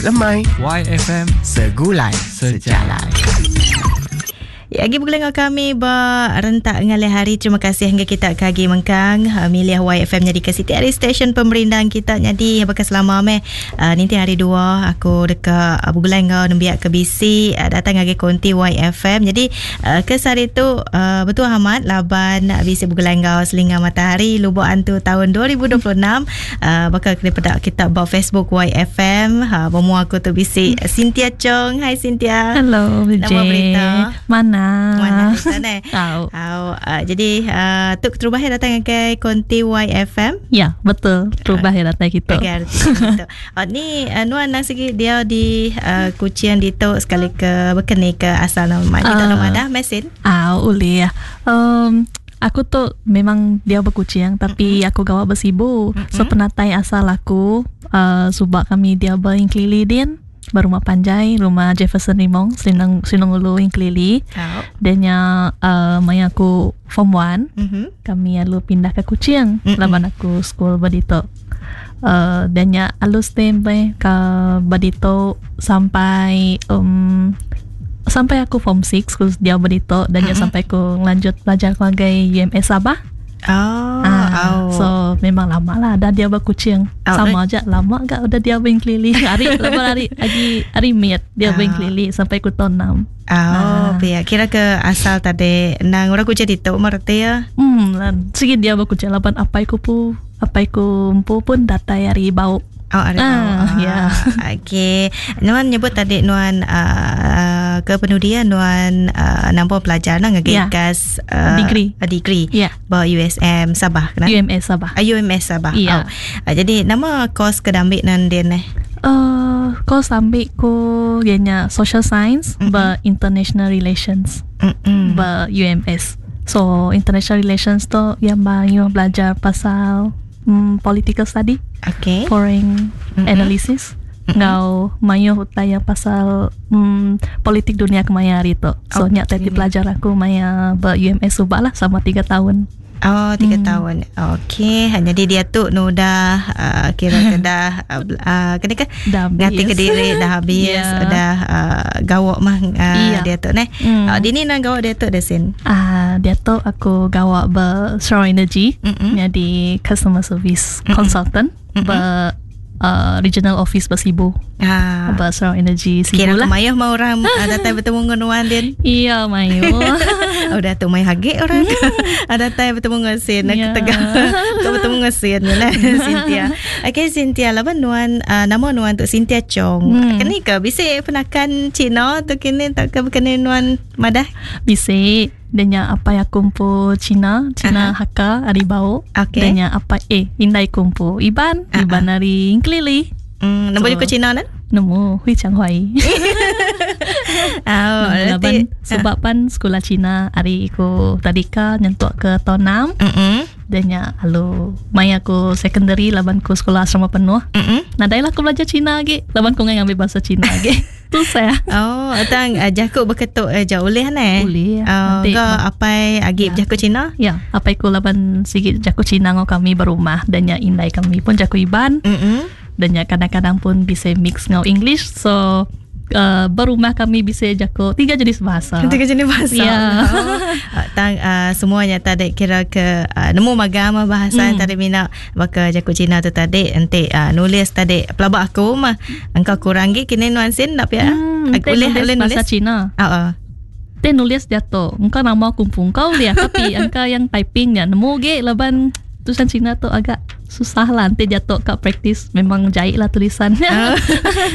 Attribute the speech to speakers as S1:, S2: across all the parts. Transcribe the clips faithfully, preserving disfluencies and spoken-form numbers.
S1: lemai
S2: Y F M
S1: Segulai
S2: Sejalai.
S3: Ya, lagi bergulai dengan kami ba rentak ngalih hari. Terima kasih hingga kita kagi mengkang milih Y F M jadi ke Siti Hari Station pemerindang kita jadi bekas lama meh. Uh, nanti hari dua aku dekat uh, bergulai dengan nembiak ke B C uh, datang lagi konti Y F M. Jadi uh, ke hari tu uh, betul amat laban B C bergulai dengan Selinga Matahari Lubuk Antu tahun dua ribu dua puluh enam. Uh, bakal kena pedak kita ba Facebook Y F M. Uh, bermua aku tu B C Cynthia Chong. Hai Cynthia.
S4: Hello,
S3: Nama berita.
S4: Mana?
S3: Mana kita ni?
S4: Tahu.
S3: Tahu. Uh, jadi uh, tu terubah yang datang ke konti Y F M.
S4: Ya, betul. Terubah yang datang kita.
S3: Okay, betul. Uh, ni uh, Nuan nak segi dia di uh, Kuching di tu sekali ke berkeni ke asal nama ni uh, dalam ada mesin.
S4: Ah, boleh ya. Um, aku tu memang dia berkucing tapi mm-hmm. aku gawa bersibu. Mm-hmm. So penatai asal aku uh, sebab kami dia beringkelili din. Berumah panjai, rumah Jefferson Rimong, Sinong Sinong Ulu Ingkelili.
S3: Oh.
S4: Dan yang uh, maya aku form one,
S3: mm-hmm.
S4: kami lalu pindah ke Kuching,
S3: mm-hmm.
S4: laban aku school berdito. Uh, dan yang alus tempe ke berdito sampai um, sampai aku form six, aku dia berdito dan mm-hmm. sampai aku lanjut belajar ke U M S Sabah.
S3: Oh,
S4: ah,
S3: oh.
S4: So memang lama lah dah dia berkucing.
S3: Oh,
S4: sama aja lama gak udah dia berkeliling. Hari lepas hari lagi hari miat dia
S3: oh.
S4: berkeliling sampai ku tahun enam.
S3: Oh, ah. Pia kira ke asal tadi nang orang kucing itu merti ya.
S4: Hmm, lan segi dia berkucing laban apai ku pu, apai ku empu pun datai hari bau.
S3: Oh, ada
S4: ah,
S3: ah,
S4: ya.
S3: Okey. Nuan nyebut tadi Nuan uh, ke penudian Nuan uh, nampak pelajar nak
S4: yeah.
S3: gas uh,
S4: degree.
S3: Uh, degree.
S4: Ya. Yeah.
S3: Ba U S M Sabah kena?
S4: U M S Sabah.
S3: Uh, U M S Sabah.
S4: Ya.
S3: Oh. Uh, jadi nama kos ke ambil nan dia ni?
S4: Uh, kos ambil ku ianya social science
S3: mm-hmm.
S4: ba international relations.
S3: Mm-hmm.
S4: Ba U M S. So international relations tu yang bang you belajar pasal mm, political study.
S3: Okay.
S4: Foreign
S3: mm-hmm.
S4: analysis.
S3: Mm-hmm.
S4: Ngau mayo hutai yang pasal mm, politik dunia kemaya hari tu. So
S3: okay.
S4: nyak tadi belajar aku maya ber U M S subak lah sama tiga tahun.
S3: Oh, tiga
S4: hmm.
S3: tahun. Okey, jadi dia tu nu dah uh, kira ke dah uh, uh, kena ke
S4: dah
S3: ngati ke diri dah habis,
S4: yeah.
S3: dah uh, gawak mah uh,
S4: yeah.
S3: dia tu neh.
S4: Mm.
S3: Uh, dini nang gawak dia tu dah sin.
S4: Ah, uh, dia tu aku gawak ber Sarawak Energy,
S3: mm-hmm.
S4: jadi customer service
S3: mm-hmm.
S4: consultant
S3: mm-hmm.
S4: ber uh, regional office bersibu.
S3: Ah.
S4: Ber Sarawak Energy Sibu
S3: kira
S4: lah.
S3: Kira mayuh mau orang datang bertemu dengan Nuan din.
S4: Iya, mayuh.
S3: Oh, dah tu mai hagik orang. Datang bertemu dengan Sin. Aku
S4: yeah.
S3: tegak. Kau bertemu dengan Sin lah, Cynthia. Okey, Cynthia, laban Nuan uh, nama Nuan tu Cynthia Chong.
S4: Hmm.
S3: Kini ke bisik penakan Cina tu kini tak ke berkena Nuan madah?
S4: Bisik. Dan yang apa yang kumpul Cina, Cina
S3: uh-huh.
S4: Hakka, ari bau.
S3: Okay.
S4: Dan yang apa eh indai kumpul Iban,
S3: uh-huh.
S4: Iban ari Ingkelili.
S3: Hmm, nemu
S4: So,
S3: juga Cina nan?
S4: Nemu, hui chang huai.
S3: Oh,
S4: Nemu laban
S3: berarti
S4: sebab pan sekolah Cina ari ku tadika nyentuk ke tahun enam.
S3: Mm-mm.
S4: Dan ya alu mai aku secondary laban ku sekolah asrama penuh.
S3: Mm-mm.
S4: Nadai lah aku belajar Cina lagi. Laban ku ngai ngambil bahasa Cina lagi. Tu saya.
S3: Oh, tang uh, jakuk berketuk uh, jauh boleh ne?
S4: Boleh.
S3: Oh,
S4: Nanti
S3: ke apai agi
S4: Ya.
S3: berjakuk Cina?
S4: Ya, apai ku laban sikit jakuk Cina ngau kami berumah dan ya indai kami pun jakuk Iban.
S3: Mm-mm.
S4: Dan ya kadang-kadang pun bisa mix ngau English. So uh, berumah kami bisa jakuk tiga jenis bahasa.
S3: Tiga jenis bahasa.
S4: Ya.
S3: Oh. Uh, tang uh, semuanya tadi kira ke uh, nemu magama bahasa
S4: Hmm.
S3: tadi mina baka jakuk Cina tu tadi nanti uh, nulis tadi pelabak aku mah engkau kurang gi kini nuansin nak ya.
S4: Hmm,
S3: Aku boleh
S4: nulis
S3: boleh
S4: bahasa
S3: nulis.
S4: Cina.
S3: Ah uh,
S4: Te nulis jatuh. Engkau nama kumpung kau lihat tapi engkau yang typing ya nemu ge laban tulisan Cina tu agak susah lah nanti jatuh kat praktis memang jahit lah tulisannya.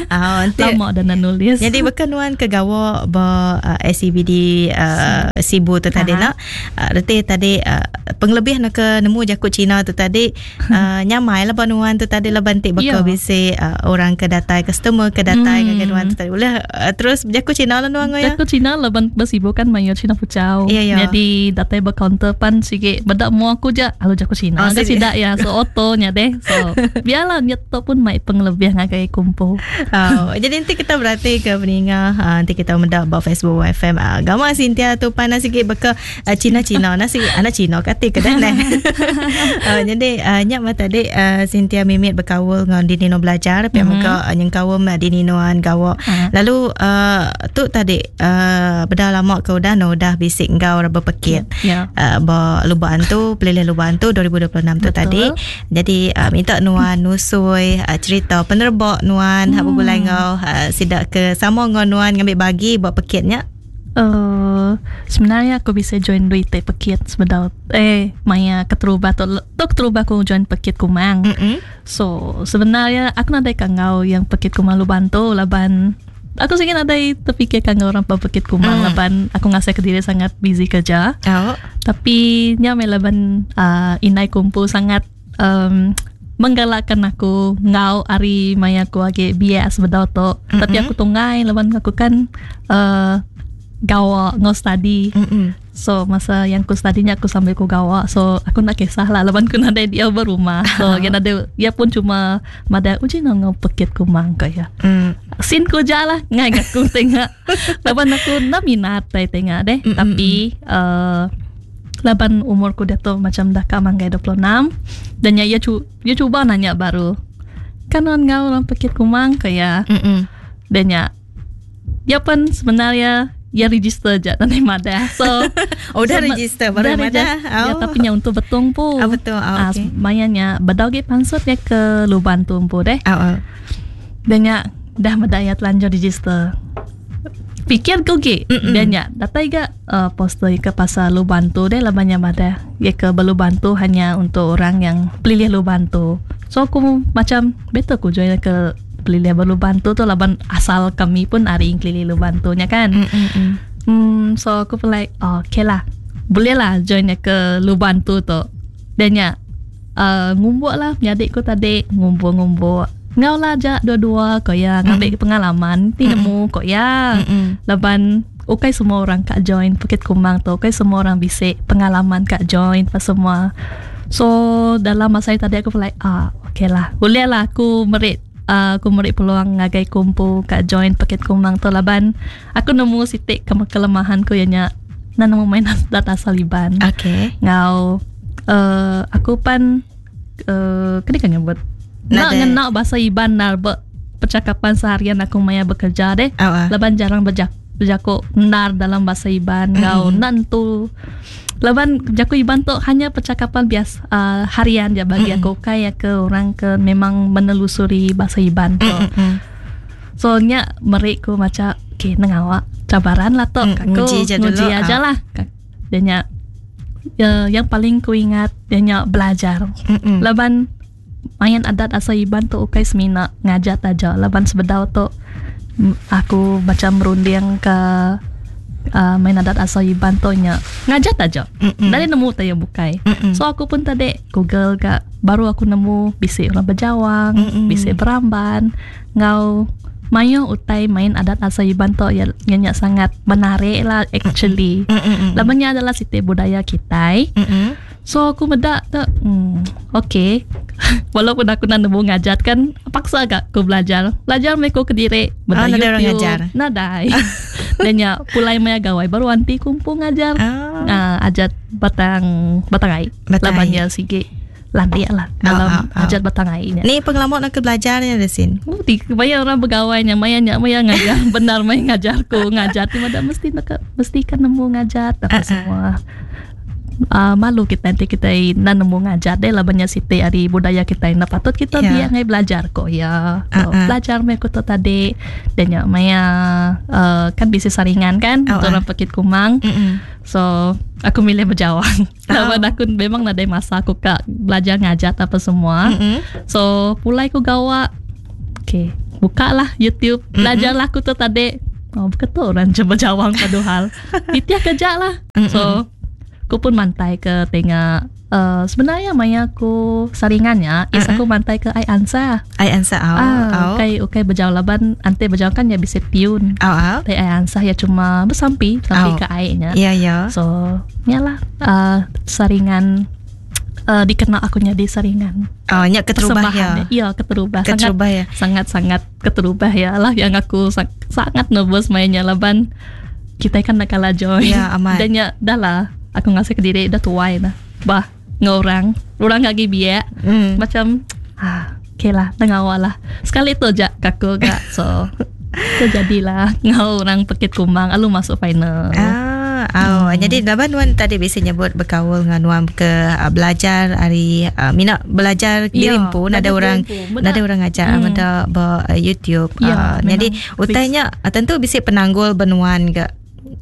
S3: Ah, nanti
S4: Lama dah nak nulis.
S3: Jadi berkenuan ke gawa ba uh, S C B D uh, Sibu tu tadi
S4: Aha.
S3: nak. Uh, reti tadi uh, penglebih nak ke nemu jakuk Cina tu tadi uh, nyamai lah banuan tu tadi lah bantik
S4: Ya.
S3: bakal bisi uh, orang ke datai customer ke datai
S4: Hmm.
S3: ke nuan tu tadi. Boleh uh, terus jakuk Cina lah nuan ya.
S4: Jakuk Cina laban bersibu kan mayo Cina pucau.
S3: Ya, ya.
S4: Jadi datai berkaunter pan sikit bedak mu aku je alu jakuk Cina.
S3: Oh,
S4: Oh,
S3: sini.
S4: tidak ya so auto fotonya deh. So biarlah nyeto pun mai pengelebih ngagai kumpul.
S3: Oh, jadi nanti kita berarti ke peninga, uh, nanti kita mendak ba Facebook Y F M. Uh, gama Cynthia tu panas sikit beka uh, Cina-Cina nasi anak Cina kati ke dah. Uh, jadi uh, nyak mata tadi uh, Cynthia mimit berkaul dengan Dinino belajar, mm-hmm. Muka uh, nyengkawam uh, Dininoan gawak. Uh-huh. Lalu uh, tu tadi uh, beda lama ke udah no udah bisik ngau berpekit.
S4: Yeah.
S3: Uh, ba lubaan tu pelilih lubaan tu dua ribu dua puluh enam tu tadi. Jadi uh, minta nuan nusui uh, cerita penerbok nuan hmm. hak begulai ngau uh, sidak ke sama ngau nuan ngambil bagi buat pekitnya.
S4: Uh, sebenarnya aku bisa join duit pekit sebenarnya eh maya keterubah tu tu keterubah aku join pekit kumang.
S3: Mm-hmm.
S4: So sebenarnya aku nadai kangau yang pekit kumang lu bantu laban aku sih ada terfikir kangau orang pekit kumang
S3: mm.
S4: laban aku ngasih ke diri sangat busy kerja.
S3: Oh.
S4: Tapi nyame laban uh, inai kumpul sangat um, menggalakkan aku ngau ari maya aku age bias bedau tu.
S3: Mm-hmm.
S4: Tapi aku tunggai laban aku kan uh, gawa ngau study.
S3: Mm-mm.
S4: So masa yang ku study-nya aku sambil ku gawa. So aku nak kisah lah laban ku nadai dia berumah. So yang ada dia pun cuma mada uji ngau ngau pekit kumang kaya.
S3: Mm.
S4: Sin ku jalah ngai aku tengok. Laban aku nak minat tai tengok deh.
S3: Mm-mm.
S4: Tapi uh, laban umurku dia tu macam dah ka manggai dua puluh enam dan ya, ya cu dia cuba nanya baru. Kan on ngau orang pekit kumang kaya.
S3: Mm-mm.
S4: Dan ya dia pun sebenarnya ya register je dan mada. So
S3: oh dah
S4: so,
S3: register baru mada.
S4: Oh. Ya
S3: Oh.
S4: tapi nya untuk betung pu.
S3: Ah, betul. Oh,
S4: ah,
S3: okay.
S4: Mayanya bedau ge pansut ya ke Luban tu pu deh.
S3: Oh, oh.
S4: Dan nya dah mada ya telanjur register. Pikir ku ge dan nya datai ga uh, poster ke pasal Luban tu deh labannya mada. Ya ke Luban tu hanya untuk orang yang pelilih Luban tu. So aku macam better ku join ke pelilih baru bantu tu laban asal kami pun ari kelilih lu bantunya kan.
S3: Mm-mm.
S4: Hmm, so aku pun like oh, okay lah. Boleh lah join ke lu bantu tu. Dan ya uh, ngumbuk lah adikku tadi ngumbuk-ngumbuk. Ngau lah jak dua-dua kau ya ngambil mm. pengalaman ti nemu kau ya.
S3: Mm-mm.
S4: Laban okay semua orang kak join Bukit Kumang tu, okay semua orang bisik pengalaman kak join pas semua. So dalam masa tadi aku pun like ah okay lah. Boleh lah aku merit Uh, aku merik peluang ngagai kumpul kat join Paket Kumang tu laban aku nemu sitik ke kelemahan ku ianya na nemu main data saliban.
S3: Okay.
S4: Ngau uh, aku pan uh, kena kan nyebut nak ngena bahasa Iban nar be percakapan seharian aku maya bekerja deh.
S3: Oh, uh.
S4: Laban jarang berjak berjakuk nar dalam bahasa Iban ngau
S3: mm.
S4: nantu laban jaku Iban tu hanya percakapan biasa uh, harian je bagi
S3: Mm-mm.
S4: aku kayak ke orang ke memang menelusuri bahasa Iban tu.
S3: Mm-mm.
S4: So nya merik ku macam okay nengawak cabaran lah tu
S3: Mm,
S4: aku
S3: nguji je dulu,
S4: nguji aja
S3: ah.
S4: lah. Dan nya uh, yang paling ku ingat dia nya belajar.
S3: Mm-mm.
S4: Laban main adat asal Iban tu ukai semina ngajat aja laban sebedau tu aku macam merunding ke Uh, main adat asal Iban tu nya ngajat aja.
S3: Mm-mm.
S4: Dari nemu tayo bukai.
S3: Mm-mm.
S4: So aku pun tadi Google gak baru aku nemu bisik orang berjawang,
S3: Mm-mm.
S4: bisik beramban, ngau mayo utai main adat asal Iban tu ya nya sangat menarik lah actually.
S3: Mm-mm.
S4: Labannya adalah siti budaya kita.
S3: Mm-mm.
S4: So aku medak tu, hmm, okay. Walaupun aku nak nemu ngajat kan, paksa agak aku belajar. Belajar mereka ke diri.
S3: Oh, nadai orang ngajar.
S4: Nadai. Dan ya, pulai maya gawai baru anti kumpul ngajar.
S3: Oh.
S4: Uh, ajat batang batang ai.
S3: Batang
S4: Labannya sige lantik lah dalam
S3: oh, oh, oh.
S4: ajat batang ai nya.
S3: Ni pengalaman nak belajarnya ada sin.
S4: Oh, di banyak orang begawainya, maya nya maya ngajar, benar maya ngajarku ngajar ti mada mesti nak mesti kan nemu ngajar apa
S3: Uh-uh.
S4: semua. Uh, malu kita nanti kita na nemu ngajar deh lah banyak siti ari budaya kita na patut kita
S3: Ya.
S4: biar ngai belajar kok ya. So,
S3: Uh-uh.
S4: belajar me aku tu tadi dan ya maya uh, kan bisnis saringan kan
S3: Oh,
S4: untuk
S3: ah.
S4: orang Pekit Kumang.
S3: Mm-mm.
S4: So aku milih berjawang.
S3: Oh.
S4: Laban aku memang nadai masa aku kak belajar ngajar apa semua.
S3: Mm-mm.
S4: So pulai ku gawa. Okay, buka lah YouTube, belajarlah aku tu tadi. Oh, betul orang cuba jawang padahal. Titiah kerja lah.
S3: Mm-mm.
S4: So aku pun mantai ke tengah uh, sebenarnya maya aku saringannya is
S3: Uh-uh.
S4: aku mantai ke ai ansa.
S3: Ai ansa au.
S4: Ah,
S3: Au.
S4: ukai ukai berjauh laban ante berjauh kan ya bisa tiun.
S3: Au au.
S4: Tapi ai ansa ya cuma bersampi, sampi
S3: Oh.
S4: ke airnya.
S3: Ya ya.
S4: So, nyalah uh, saringan uh, dikenal aku nyadi saringan.
S3: Oh, nya keterubah ya.
S4: Iya, keterubah.
S3: Keterubah ya.
S4: Sangat sangat keterubah ya lah yang aku sang, sangat nervous mainnya laban kita kan nak kalah join.
S3: Ya, amat.
S4: Dan ya dah lah aku ngasih ke diri dah tuai dah. Bah, ngorang, orang lagi biak.
S3: Mm.
S4: Macam ah, okay lah, tengah awal lah. Sekali tu je kaku gak. So, terjadilah ngau orang pekit kumang alu masuk final.
S3: Ah. Oh, hmm. Jadi laban nuan tadi bisa nyebut berkaul dengan nuan ke uh, belajar hari uh, minat belajar ya, diri pun ada orang ada orang ajar hmm. ada ba uh, YouTube.
S4: Ya,
S3: uh, jadi utainya uh, tentu bisa penanggul benuan ke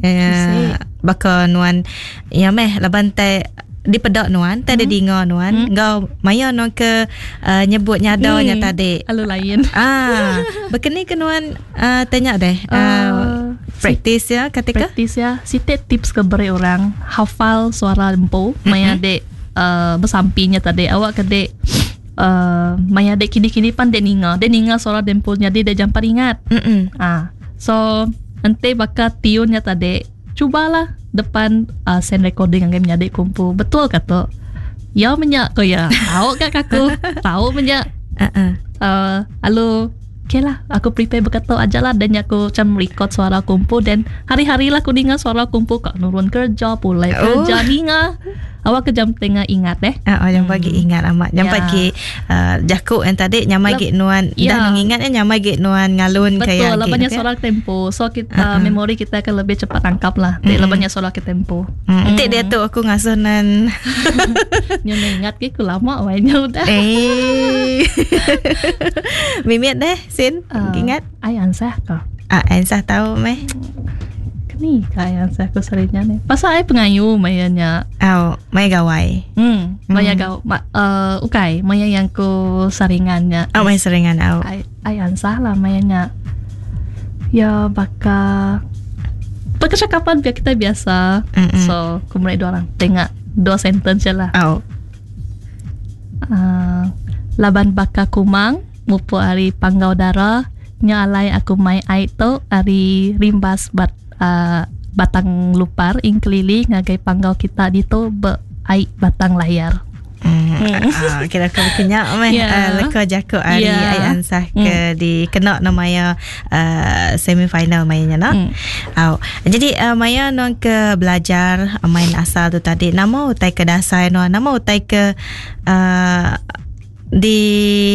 S3: uh, baka nuan ya meh laban te di pedak nuan, tadi hmm. dinga nuan, hmm. ngau maya nuan ke uh, nyebut nyadanya hmm. tadi.
S4: Alu lain.
S3: Ah, berkeni ke nuan uh, tanya deh. Uh, uh, practice ya ketika
S4: practice ya. Site tips ke beri orang hafal suara empu, mm-hmm. maya dek uh, bersampinya tadi awak ke dek uh, maya dek kini-kini pan dek ninga, dek ninga suara dempu jadi dek jampat ingat.
S3: Mm-mm.
S4: Ah, so nanti bakal tiunnya tadi cubalah depan uh, send recording yang menyadik kumpul betul kata ya menyak ko ya tahu kak aku tahu menyak
S3: uh-uh.
S4: uh, alu okay lah aku prepare berkata aja lah dan aku macam record suara kumpul dan hari-hari lah aku dengar suara kumpul kak nurun kerja pulai kerja
S3: oh.
S4: ninga awak ke jam tengah ingat deh
S3: ah uh, jam pagi hmm. ingat amat jam
S4: ya.
S3: pagi uh, jakuk yang tadi nyamai gik nuan
S4: ya.
S3: Dah mengingat ya nyamai gik nuan ngalun
S4: betul
S3: kayak
S4: lah banyak suara tempo so kita uh-uh. memori kita akan lebih cepat tangkap lah mm.
S3: Mm.
S4: banyak suara ke tempo
S3: mm. Nanti dia tu aku ngasuh nan
S4: nyonya ingat ke aku lama wainya udah
S3: eh mimit deh sin
S4: uh,
S3: ingat
S4: ai ansah ko
S3: ah ansah tahu meh
S4: ni kaya saya aku seringnya ni. Pasal ai pengayu mayanya.
S3: Oh, maya gawai.
S4: Hmm, maya hmm. gaw ma, uh, ukai, maya yang ku saringannya.
S3: Oh, maya saringan au.
S4: Ai ai ansah lah mayanya. Ya baka percakapan biar kita biasa.
S3: Mm-mm.
S4: So, ku mulai dua orang tengok dua sentence je lah.
S3: Oh.
S4: Uh, laban baka kumang mupu ari panggau dara nya alai aku mai ai tu ari rimbas bat Uh, batang lupar ing keliling ngagai panggau kita dito be ai batang layar.
S3: Hmm. Ah, kira aku kenyak meh
S4: Yeah.
S3: uh, leka jakuk ari
S4: Yeah.
S3: ai ansah ke
S4: Mm.
S3: di kena namanya uh, semi final mainnya nak.
S4: Mm.
S3: Au. Jadi uh, maya nuan ke belajar uh, main asal tu tadi nama utai ke dasar nuan nama utai ke uh, di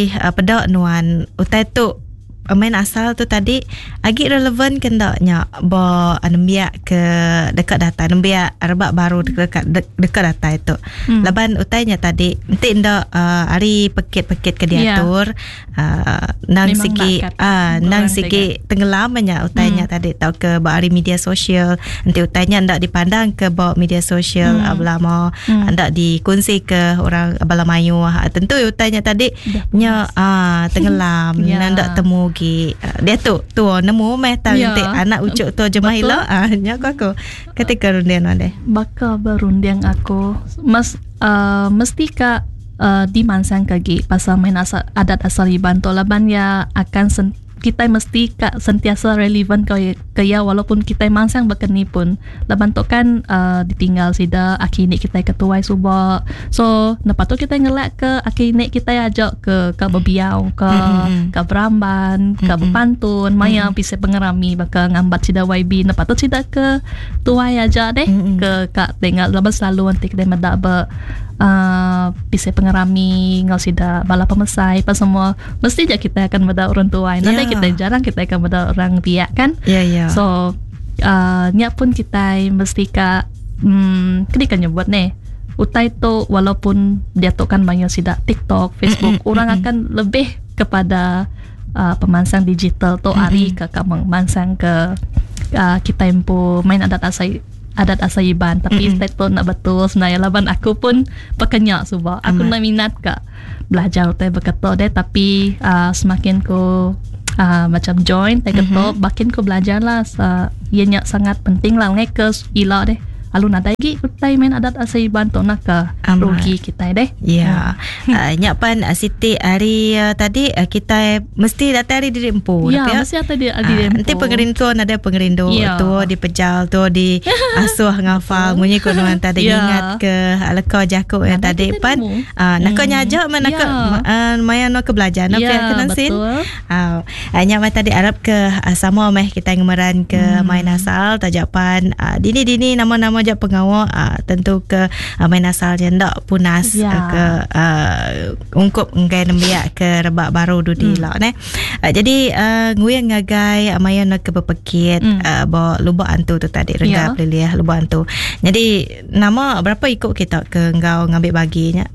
S3: uh, pedak nuan utai tu main asal tu tadi agak relevan ke ndaknya bo nembiak ke dekat data nembiak rebak baru dekat de, dekat data itu.
S4: Hmm.
S3: Laban utainya tadi enti ndak uh, hari pekit-pekit ke diatur
S4: yeah.
S3: uh, nang
S4: Memang
S3: segi
S4: nak
S3: ah uh, nang
S4: orang
S3: segi tenggelamnya utainya
S4: Hmm.
S3: tadi tau ke ba hari media sosial enti utainya ndak dipandang ke ba media sosial
S4: Hmm.
S3: hmm. belama
S4: Hmm.
S3: ndak dikongsi ke orang bala mayu Ah, tentu utainya tadi
S4: Dah
S3: nya ah tenggelam
S4: Ya.
S3: yeah. ndak temu gi dia tu tu nemu meh tang
S4: Ya.
S3: yeah. anak ucuk tu jemah
S4: Betul.
S3: ila ah nya aku aku ketika rundian ade
S4: Baka berunding aku mas uh, mesti ka uh, dimansang kagi pasal main asal, adat asal Iban tu laban ya akan sen, kita mesti ka sentiasa relevan ke ke ya walaupun kita mansang berkeni pun laban tu kan uh, ditinggal sida aki nik kita ketuai suba so lepas tu kita ngelak ke aki nik kita ajak ke ke berbiau ke
S3: Mm-mm.
S4: ke beramban ke
S3: Mm-mm.
S4: berpantun maya pisai pengerami baka ngambat sida Y B lepas tu sida ke tuai aja deh
S3: Mm-mm.
S4: ke kak tengok laban selalu nanti kita medak ber uh, pisai pengerami ngau sida bala pemesai apa semua mesti je kita akan medak orang tuai nanti
S3: Ya.
S4: kita jarang kita akan medak orang biak kan
S3: ya ya
S4: so uh, nya pun kita mesti ka hmm, kini kan nyebut nih utai tu walaupun dia tu kan banyak sida TikTok, Facebook,
S3: Mm-mm,
S4: orang
S3: mm-mm.
S4: akan lebih kepada uh, pemansang digital tu ari ke ke memansang ke uh, kita empu main adat asal adat asal Iban tapi
S3: Mm-mm.
S4: mm tu nak betul sebenarnya laban aku pun pekenyak suba aku
S3: Amat.
S4: nak minat ka belajar teh berketok deh tapi uh, semakin ku uh, macam join teh ketok
S3: Mhm.
S4: makin ku belajar lah uh, ianya sangat penting lah ngai ke ila deh Lalu nadai lagi utai main adat asal Iban tu nak ke rugi kita deh.
S3: Ya. Uh, nyak pan uh, Siti hari uh, tadi uh, kita mesti datang hari diri empu.
S4: Ya, mesti datang diri uh, empu.
S3: Nanti pengerindu ada pengerindu ya. Tu dipejal tu di asuh ngafal munyi ku nuan tadi ya. Ingat ke leka jakuk yang tadi pan uh, nak hmm. nyajak mana ke uh, maya nak ke belajar nak ya, ke nansin. Uh, nyak mai tadi arab ke uh, sama meh kita ngemeran ke hmm. main asal tajapan uh, dini-dini nama-nama jak pengawal uh, tentu ke uh, main asal je ndak punas ya. uh, ke uh, ungkup enggai nembiak ke rebak baru dudi hmm. lah ne. Uh, jadi uh, nguyang ngagai uh, maya nak ke berpekit hmm. uh, ba lubak antu tu tadi renggap ya. Liliah lubak antu. Jadi nama berapa ikut kita ke engkau ngambil baginya?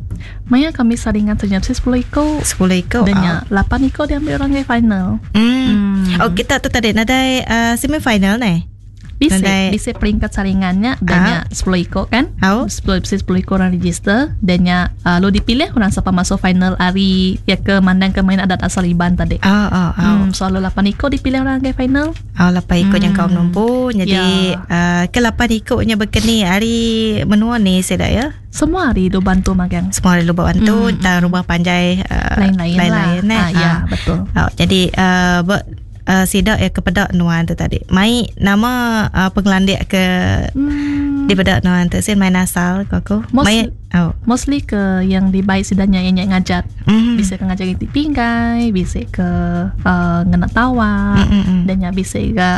S4: Maya kami saringan senyap sepuluh ikut.
S3: sepuluh ikut.
S4: Dan oh. lapan ikut diambil orang ke final.
S3: Hmm. Hmm. Oh kita tu tadi nadai uh, semi final ne.
S4: Bisa, bisa peringkat saringannya dan ah. sepuluh ikut kan?
S3: Oh.
S4: sepuluh sepuluh ikut orang register dan nya uh, lo dipilih orang siapa masuk final hari ya ke mandang ke main adat asal Iban tadi.
S3: Oh, oh, oh.
S4: Hmm, so lo lapan ikut dipilih orang ke final.
S3: Oh, lapan ikut hmm. yang kau menumpu. Jadi ya. uh, ke lapan ikutnya berkeni hari menua ni saya dah ya.
S4: Semua hari lu bantu magang.
S3: Semua hari lu bantu hmm. dan rumah panjai uh,
S4: lain-lain,
S3: lain-lain
S4: lah.
S3: Eh.
S4: Ah, ya, betul.
S3: Oh, jadi uh, ber, Uh, sidak ya kepada nuan tu tadi. Mai nama uh, pengelandik ke hmm. di pedak nuan tu sin main asal aku.
S4: Mai
S3: oh.
S4: Mostly ke yang dibaik sidanya yang ngajat.
S3: Mm.
S4: Bisa ke ngajar di pinggai, bisa ke uh, ngena tawa,
S3: mm-hmm.
S4: dan ya bisa ke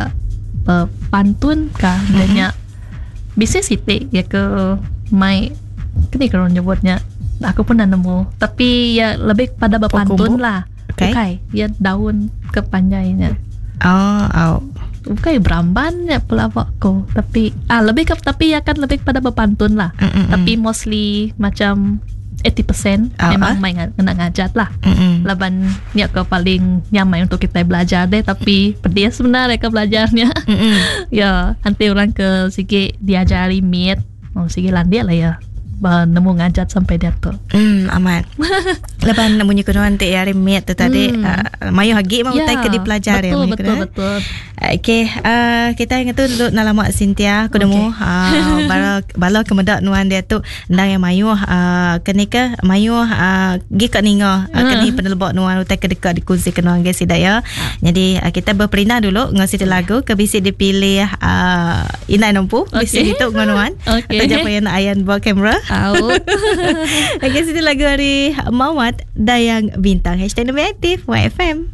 S4: uh, pantun kah, mm-hmm. dan ya bisa sitik ya ke mai kini kalau nyebutnya aku pun dah nemu. Tapi ya lebih pada berpantun lah.
S3: Okay.
S4: Okay. Ya daun kepanjainya.
S3: Oh, oh.
S4: Bukan beramban ya pelawakku, tapi ah lebih ke tapi ya kan lebih pada berpantun lah.
S3: Mm-mm.
S4: Tapi mostly macam eighty percent
S3: oh,
S4: memang
S3: ah?
S4: main kena ngajat lah.
S3: Mm-mm.
S4: Laban ni ke paling nyaman untuk kita belajar deh, tapi pedih sebenarnya ke belajarnya. Ya, nanti orang ke sikit diajari miet, oh sikit landia lah ya. Nemu ngajat sampai dia tu.
S3: Hmm, amat. Lepas nemu nyukur nanti hari miet tu tadi,
S4: hmm.
S3: uh, mayu hagi mau
S4: ya,
S3: utai ke dipelajari.
S4: Betul, betul, betul.
S3: Okey, uh, kita ingat tu duduk nalamak Cynthia, aku nemu
S4: okay.
S3: uh, bala bala kemedak nuan dia tu ndang yang mayu uh, keni ke mayu uh, gi kat ninga uh, keni penelebok nuan utai ke dekat dikongsi ke nuan guys ya. Jadi uh, kita berperinah dulu ngasi yeah. lagu ke bisi dipilih uh, Inai Nompu
S4: okay.
S3: Bisi itu nuan.
S4: Okey.
S3: Atau japa yang nak ayan bawa kamera.
S4: Out.
S3: Okey, sini lagu hari Mawat Dayang Bintang. Hashtag Lebih Aktif Y F M.